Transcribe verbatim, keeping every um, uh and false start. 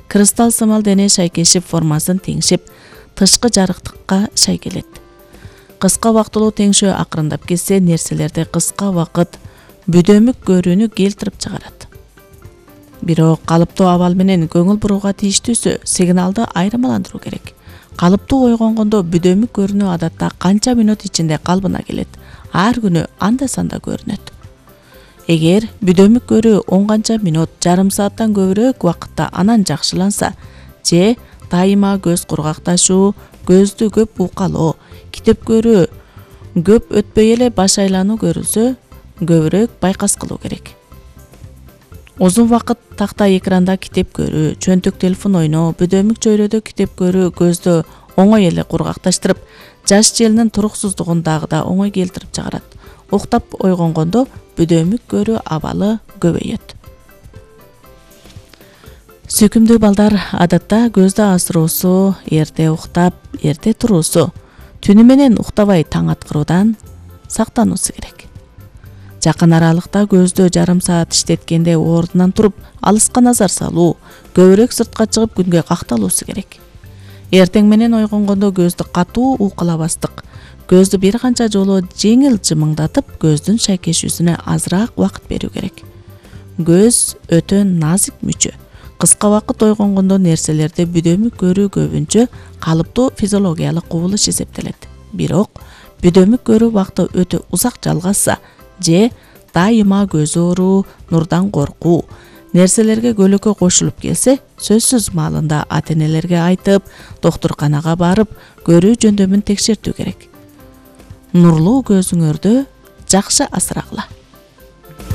кристалл сымал дене шайкешип формасын теңшеп, тышкы жарыктыкка шайкелет. Кыска убактылуу теңшөө акырындап кетсе, нерселерди кыска убакыт бүдөмүк көрүүнү келтирип чыгарат. Бирок калыптуу абал менен көңүл бурууга тийиштүүсү сигналды айырмаландыруу керек. Калыптуу ойгонгондо бүдөмүк көрүүнү адатта канча мүнөт ичинде калыбына келет, ар күнү анда-санда көрүнөт. Эгер бүдөмүк көрүү он канча мүнөт, жарым сааттан көбүрөөк убакытта анан жакшыланса, же дайыма көз кургакташуу, көздү көп укалоо, китеп көрүү көп өтпөй эле баш айлануу көрүлсө, көбүрөөк байкас кылуу керек. Узун вакыт такта экранда китеп көрүү, чөнтөк телефон ойноо, бүдөмүк чөйрөдө китеп көрүү көздү оңой эле кургакташтырып, жаш желинин туруксуздугун дагы да оңой келтирип чыгарат. Уктап ойгонгондо бүдөмүк көрүү абалы көбөйөт. Сүйкүмдүү балдар адатта көздү азыруусу, эрте уктап, эрте туруусу, түнү менен уктабай таң аткаруудан сактануусу керек. Жакын аралыкта көздү жарым саат иштеткенде ордунан туруп, алыска назар салуу, көбүрөөк сыртка чыгып күнгө какталуусу керек. Эртең менен ойгонгондо көздү катуу укалабастык, көздү бир канча жолу жеңил жымыңдатып, көздүн шайкешүүсүнө азыраак убакыт берүү керек. Көз өтө назик мүчө. Кыска убакыт ойгонгондо нерселерди бүдөмүк көрүү көбүнчө калыптуу физиологиялык кубулуш эсептелет. Бирок бүдөмүк көрүү убакыты өтө узак жалгашса, же дайыма көз ооруу, нурдан коркуу, нерселерге көлөкө кошулуп келсе, сөзсүз маалында ата-энелерге айтып, доктурканага барып, көрүү жөндөмүн текшертүү керек. Нурлуу көзүңөрдү жакшы асырагыла.